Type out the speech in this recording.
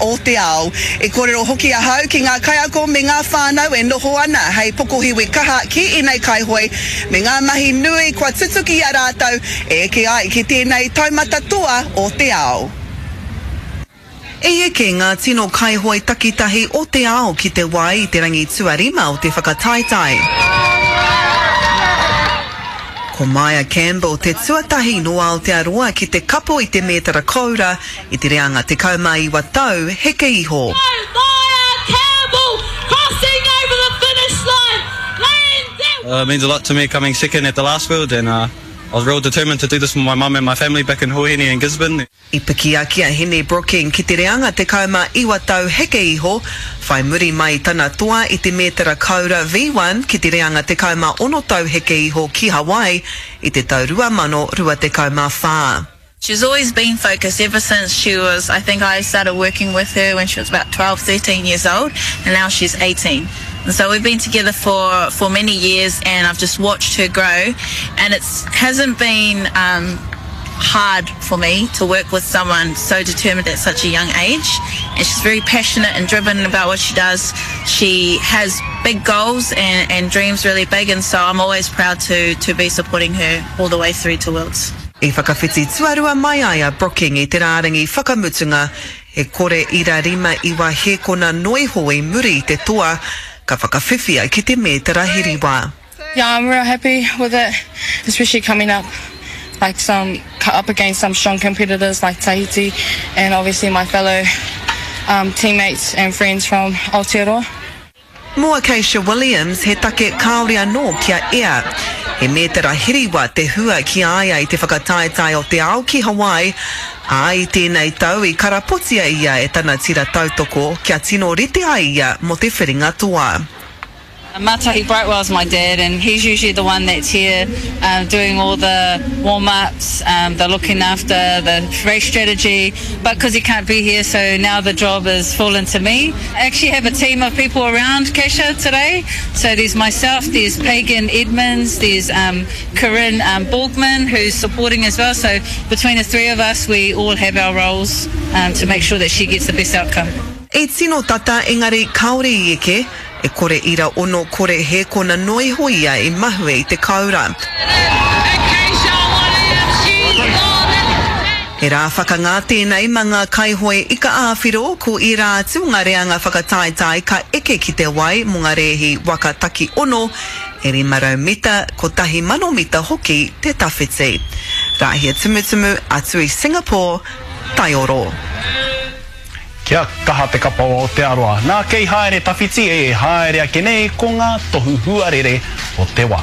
o te ao. I kōrero hoki ahau ki ngā kaiako me ngā whānau e noho ana hei pokohiwi kaha ki ēnei kaihoe me ngā mahi nui kua tutuki i a rātou e eke ai ki tēnei taumata toa o te ao. I eke ngā tino kaihoe takitahi o te ao ki te wai i te rangi tuarima o te whakataetae. Ko Maia Campbell te tuatahi nō Aotearoa ki te kapo i te mētara koura i te reanga 19 tau heke iho. It means a lot to me coming second at the last world and I was real determined to do this for my mum and my family back in Huahine and Gisborne. I piki ake a Hene Brooking ki te reanga 19 tau heke iho, whai muri mai i tana toa i te mētara koura V1 ki te reanga 16 tau heke iho ki Hawaii i te tau 2024. She's always been focused ever since she was, I think I started working with her when she was about 12, 13 years old and now she's 18. And so we've been together for, for many years and I've just watched her grow and it hasn't been um, hard for me to work with someone so determined at such a young age. And she's very passionate and driven about what she does. She has big goals and, and dreams really big and so I'm always proud to, to be supporting her all the way through to Worlds. I whakawhiti tuarua mai ai a Brooking i te rārangi whakamutunga, e kore ira 59 hēkona noa iho i muri i te toa, ka whakawhiwhia ki te mētara hiriwa. Yeah, I'm real happy with it, especially coming up like some up against some strong competitors like Tahiti and obviously my fellow um, teammates and friends from Aotearoa. Mō Acacia Williams, he take kāore anō kia ea. He mētara hiriwa te hua ki a ia i te whakataetae o te ao ki Hawaii, ā, i tēnei tau i karapotia ia e tana tira tautoko kia tino rite ai ia mō te whiringa toa. Matahi Brightwell's my dad and he's usually the one that's here um, doing all the warm-ups, um, the looking after the race strategy, but because he can't be here, so now the job has fallen to me. I actually have a team of people around Kesha today. So there's myself, there's Pagan Edmonds, there's um, Corinne um, Borgman who's supporting as well. So between the three of us, we all have our roles um, to make sure that she gets the best outcome. E tino tata engari kāore i eke, E kore ira ono kore hēkona noa iho ia i mahue i te kāura. He rā whakangā tēnei ma ngā kaihoe ika ā-whiro, ko ērā atu o ngā reanga whakataetae ka eke ki te wai mō ngā rēhi waka taki ono, e 500 mita, 1000 mita hoki te tawhiti. Rāhia Tumutumu atu i Singapore, Taioro. Kia kaha te kapa o Aotearoa. Nā kei haere tawhiti e haere ake nei ko ngā tohu huarere o te wā.